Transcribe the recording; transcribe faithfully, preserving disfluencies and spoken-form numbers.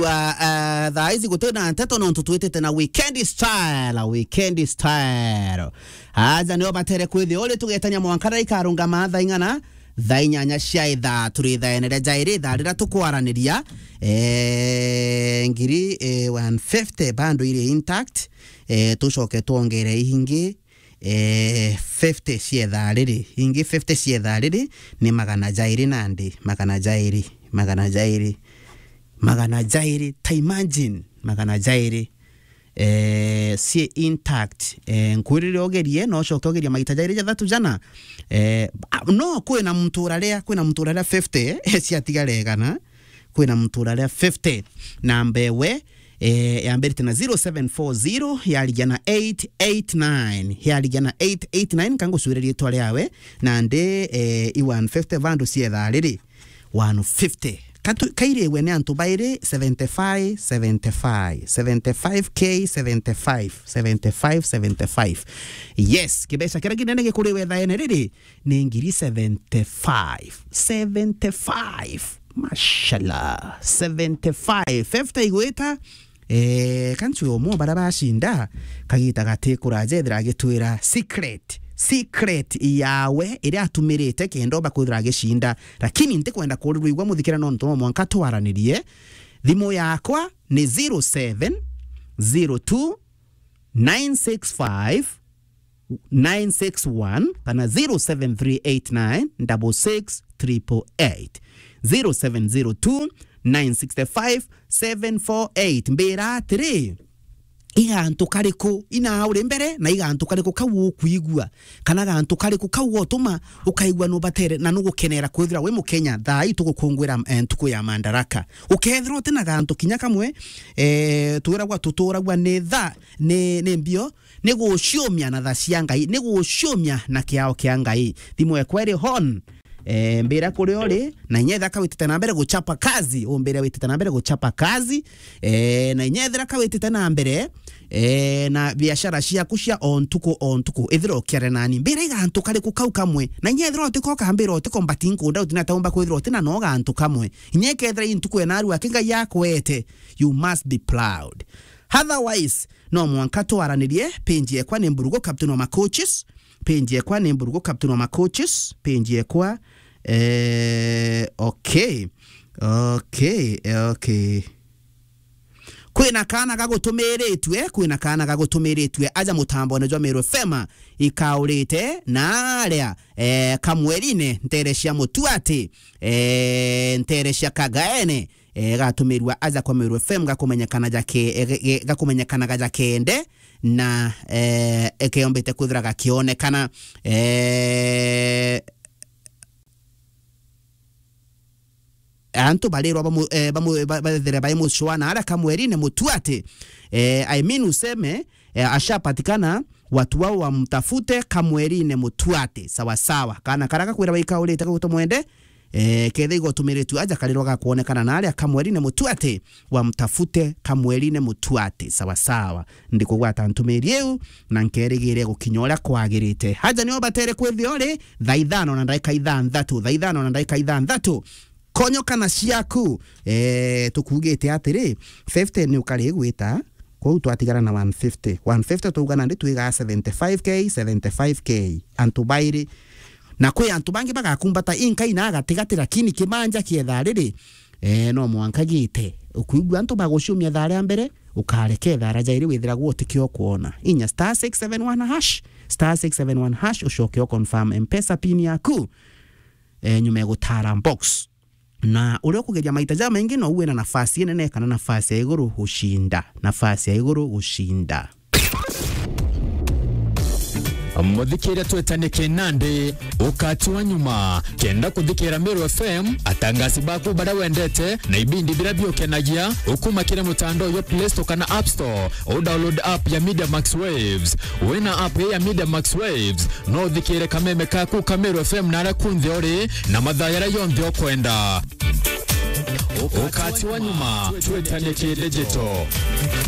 Wa, eh, thaa ici guti na nteto nontu twitite na weekend style, weekend style. Aja nio batere kwithia uri tugetania mwanka na ikarungama thaa ing'ana, thaa inyanya cia ithaa turi thaene ria jairi, thaa riria tukwaraniria, eh, ngiri, eh, one fifty bando iri intact, eh, tucoke twongere ingi, eh, fifty cia ithaa riri, ingi fifty cia ithaa riri ni magana jairi nandi, magana jairi, magana jairi, magana jairi, ta imagine, magana jairi, eh, cie intact. Eh, nkwirire ugerie, no ucoke ugerie maita jairi jathatu jana. Eh, a-, no kwina muntu uraria, kwina muntu uraria fifty, eh, ciatigara igana. Kwina muntu uraria fifty. Namba ewe, eh, yambirite na zero seven four zero, yarigia na eight eight nine. Yarigia na eight eight nine, ka ngucwire riitwa riawe, nandi, eh, i one fifty bando cia ithaa riri. One fifty. Katu-, kairiwe ni antu bairi, seventy-five, seventy-five, seventy-five K, seventy-five, seventy-five, seventy-five. Yes, kibeca kiria kinene gikuriwe thaene riri, ni ngiri seventy-five. Seventy-five. Mashallah. Seventy-five. Fifty igwita. Eh, kantu umwe bara bacinda, kagita gati kuraja ethira agitwira secret. Secret yawe iria atumirite kenda oba kwithira agicinda. Lakini ntikwenda kurirwa igua muthikira nontu no mwanka twaranirie. Thimu yakwa ni zero seven zero two nine six five nine six one kana zero seven three eight nine double six triple eight, zero seven zero two nine six five seven four eight. Mbira atiri, i gantu kariku ina uri mbere na i gantu kariku kau ukwigua, kana gantu kariku kau gotuma ukaigua nubatere na nugukenera kwithira wi Mukenya thaa ii tugukungwira, eh, ntuku ya Madaraka? Ukethirwa uti na gantu kinya kamwe, eh, twiragwa tuturagwa ni tha, ni, ni mbio, ni guciumia na tha cia Ngai, ni guciumia na kiao kia Ngai. Thimu ekwa iri hon. Eh, mbira kuria uri, na inya ethira kawitite na mbere guchapa kazi, umbire witite na mbere guchapa kazi, eh, na inya ethira kawitite na mbere, eh, na biashara ciaku cia o ntuku o ntuku, ithira ukiaria nani, mbira i gantu kariku kau kamwe, na inya ethira utiko kambira utiko mbati nkunda utina taumba kwithira utina no gantu kamwe, inya ikethira i ntuku enarua aki Ngai akwete, you must be proud. Otherwise, no mwanka twaranirie. Page yekwa ni Mburugu Captain wa Macoaches. Page yekwa ni Mburugu Captain wa Macoaches. Page yekwa, eh, okay. Okay, okay. Kwina kana gagutumiritue, kwina kana gagutumiritue aja mutambone jwa Meru F M ikaurite na aria, eh, Kamwerine, ntere cia Mutuati, eh, ntere cia Kagaene, eh, gatumirua aja kwa Meru F M gakumenyekana jake, eh, ge-, ge-, gakumenyekanaga jakende na, eh, ekeombite kwithira gakionekana, eh, antu barirwa bamu-, eh, bamu-, ba-, bathire bai mucwa na aria Kamwerine Mutuati, eh, I mean useme, eh, ashapatikana, watu wao wamtafute Kamwerine Mutuati. Sawa sawa. Kana karia gakwira baikaurite gagutumwende, eh, ketha igotumiritue aja karirwa gakwonekana na aria Kamwerine Mutuati, wamtafute Kamwerine Mutuati. Sawa sawa. Ndikugwata ntumiri iu, na nkerigire gukinya uria kwagirite. Aja nio batere kwithia uri, thaa ithano na ndagika ithanthatu, thaa ithano na ndagika ithanthatu. Konyo kana ciaku, eh, tukugite atiri, fifty ni ukari gwita, kwou twatigara na one fifty. One fifty twauga nandi twigaa seventy-five K, seventy-five K. Antu bairi. Na kwi antu bangi bagakumbata inkai na gatigati, lakini kimanja kietha riri, eh, no mwanka gite. Ukuigua antu baguciumia thaa ria mbere, ukareke thaa ria jairi withiragwo utikio kuona. Inya star six seven one hash, star six seven one hash, ucoke u confirm M-Pesa pin yaku. Eh, nyuma ya gutara box. Na uria ukugeria maita jamaingi, no uwe na nafasi inene kana nafasi ya iguru gushinda. Nafasi ya iguru gushinda. Muthikiria twetanie kinandi, ukati wa nyuma. Kenda kuthikira Meru F M, atangasi baku baria wendete, na ibindi biria biukenagia, ukuma kiri mutandao jwa Play Store kana App Store, u download app ya Media Max Waves. Wina app ya Media Max Waves, no uthikire kameme kaku ka Meru F M na aria kunthe uri, na mathaa jaria jonthe ukwenda. Ukati wa nyuma, twetanie ki digital.